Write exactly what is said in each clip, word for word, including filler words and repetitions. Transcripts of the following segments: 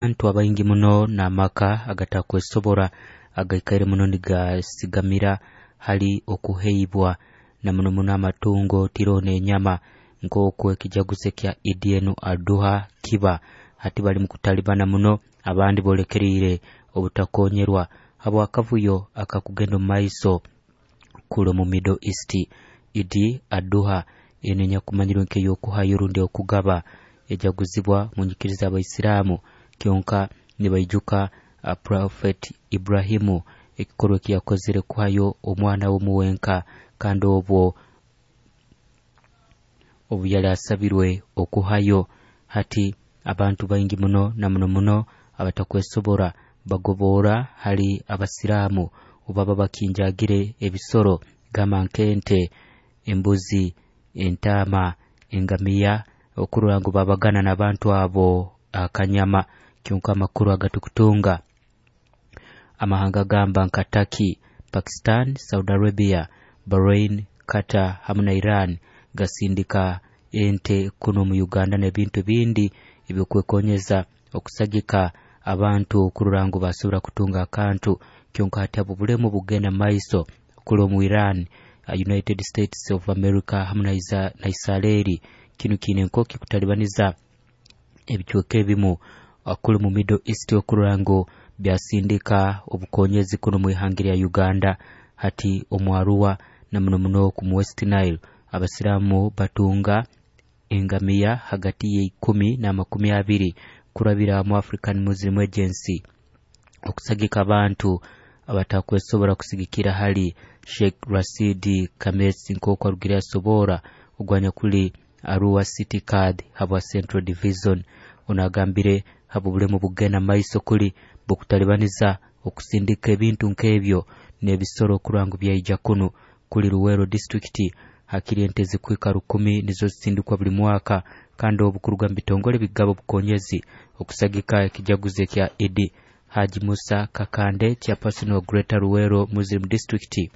Abantu abaingi muno n'amaka agatakwesobora agaikaire muno nigasigamira hali okuheibwa na muno muno amatungo tiroho n'enyama nk'oku ekijaguzo ekya Idi enu Aduha kiba hati bali mu kutalibana muno abandi boolekeriire obutakonyerwa habw'akavuyo akakugenda omu maiso kuli omu Middle East. Idi Aduha enu enyakumanyirwe nk'ey'okuhayo rundi okugaba ejaguzibwa mu nyikiriza y'Abaisiraamu kyonka nibaijuka uh, Prophet Ibrahimu ekikorwa eki yakozere kuhayo omwana we omu wenka kandi obwo obu yali asabirwe okuhayo. Hati abantu baingi muno na muno muno abatakwesobora bagoboora hali Abasiraamu obu baba bakinjagire ebisoro gamba nk'ente, embuzi, entaama, engamiya okurora ngu babagana n'abantu abo akanyama. Kyonka amakuru agatukutunga amahanga gamba nka Turkey, Pakistan, Saudi Arabia, Bahrain, Qatar hamu na Iran gasindika ente kuno mu Uganda n'ebintu bindi ebyokwekonyeza okusagika abantu okurora ngu basobora kutunga akantu. Kyonka hati abo bulemu bugenda maiso kuli omu Iran, United States of America hamu na Israeli. Kinu kiine nkoki kutalibaniza ebicweka ebimu kuli mu Middle East okurora ngu byasindika obukonyezi kuno mu ihanga lya Uganda. Hati omu Arua na muno muno ku West Nile Abasiraamu batunga engamiya hagati y'eikumi n'amakumi abiri kurabira mu African Muslim Agency okusagika abantu abatakwesobora kusigikira hali Sheikh Rashid Kamesi nk'oku arugire asobora ogwanyakuli Arua City Card habwa Central Division. Ono agambire habw'obulemu bugenda maiso kuli bukutalibaniza okusindika ebintu nk'ebyo n'ebisoro okurora ngu byaija kunu kuli Luweero disitulikiti hakiri ente zikuhika rukumi nizo zisindikwa buli mwaka kandi obu kuruga mu bitongole bigaba obukonyezi okusagika ekijaguzo ekya Idi. Haji Musa Kakande chairperson wa Greater Luweero Muslim District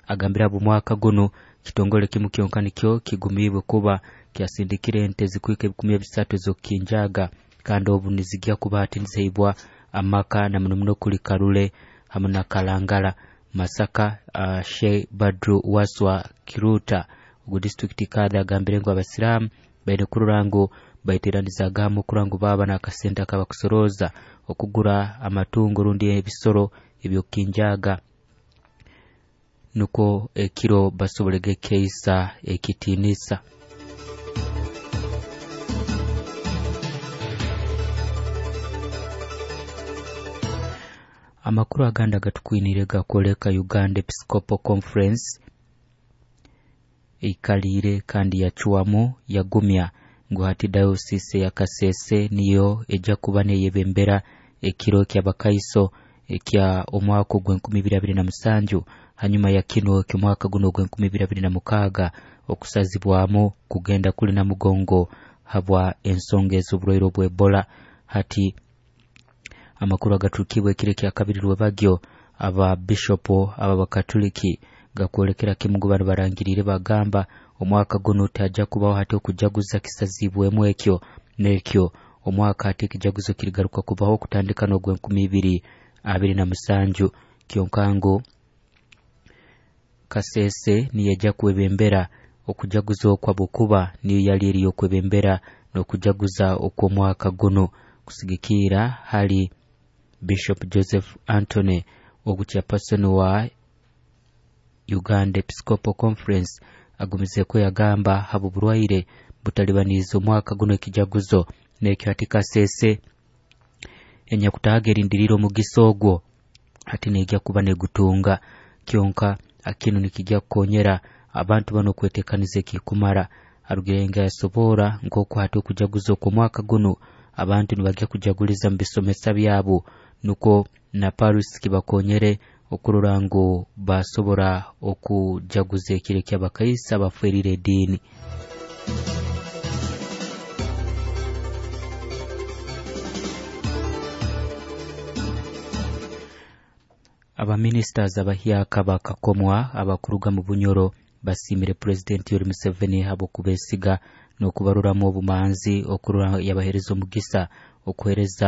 agambire abo mwaka gunu kitongole kimu kyonka nikyo kigumiibwe kuba kyasindikire ente zikuhika ebikumi ebisatu ez'okukinjaga kandi obu nizigya kuba hati niziheibwa amaka na muno muno kuli Karule hamu na Kalangala. Masaka uh, Sheikh Badru Waswa Kiruta ogu disitulikiti kadha agambire ngu Abasiraamu baine kurora ngu baiteranizaaga hamu okurora ngu baaba n'akasente akabakusorooza okugura amatungo rundi ebisoro ebyokukinjaaga nukwo ekiro basobolege keisa ekitiinisa. Amakuru agandi agatukwiniire gakwoleka Uganda Episcopal Conference eikaliire kandi yacwamu yagumya ngu hati dayosisi ya Kasese niyo ejja kuba neyebembera ekiro ky'abakaiso ekya omwaka ogw'enkumi ibiri abiri na musanju hanyuma ya kino eky'omwaka guno ogw'enkumi ibiri abiri na mukaaga okusazibwamu kugenda kuli Namugongo habwa ensonga ez'oburwaire obwa Ebola. Hati amakuru agaturukibwe ekiro ekya kabiri rwebagyo aba bishopu ab'abakatuliki gakwolekera kimu ngu banu barangiriire bagamba omwaka gunu tihajja kubaho hati okujaguza kisazibwemu ekyo n'ekyo omwaka hati ekijaguzo kirigaruka kubaho okutandika n'ogw'enkumi ibiri abiri na musanju. Kyonka ngu Kasese niyo ejja kwebembera okujaguza okwo habwokuba niyo yali eri y'okwebembera n'okujaguza okw'omwaka guno kusigikiira hali Bishop Joseph Anthony ogu chairperson wa Uganda Episcopal Conference agumizeeko yagamba habw'oburwaire butalibaniize omwaka guno ekijaguzo n'ekyo hati Kasese enyakutaaga erindiriire omugisa ogwo hati neegya kuba negutunga. Kyonka kinu nikijja kukonyera abantu banu okwetekaniza ekikumara. Arugire nga yasobora nk'oku hati okujaguza okw'omwaka gunu abantu nibagya kujaguliza mu bisomesa byabo nukwo na Paris kibakonyere okurora ngu basobora okujaguza ekiro eky'abakaisa abaferiire ediini. Abaminisitaazi abahyaka bakakomwa abakuruga mu Bunyoro basiimire Pulezidenti Yoweri Museveni habw'okubesiga n'okubaruramu obumanzi okurora yabaheereza omugisa okuheereza.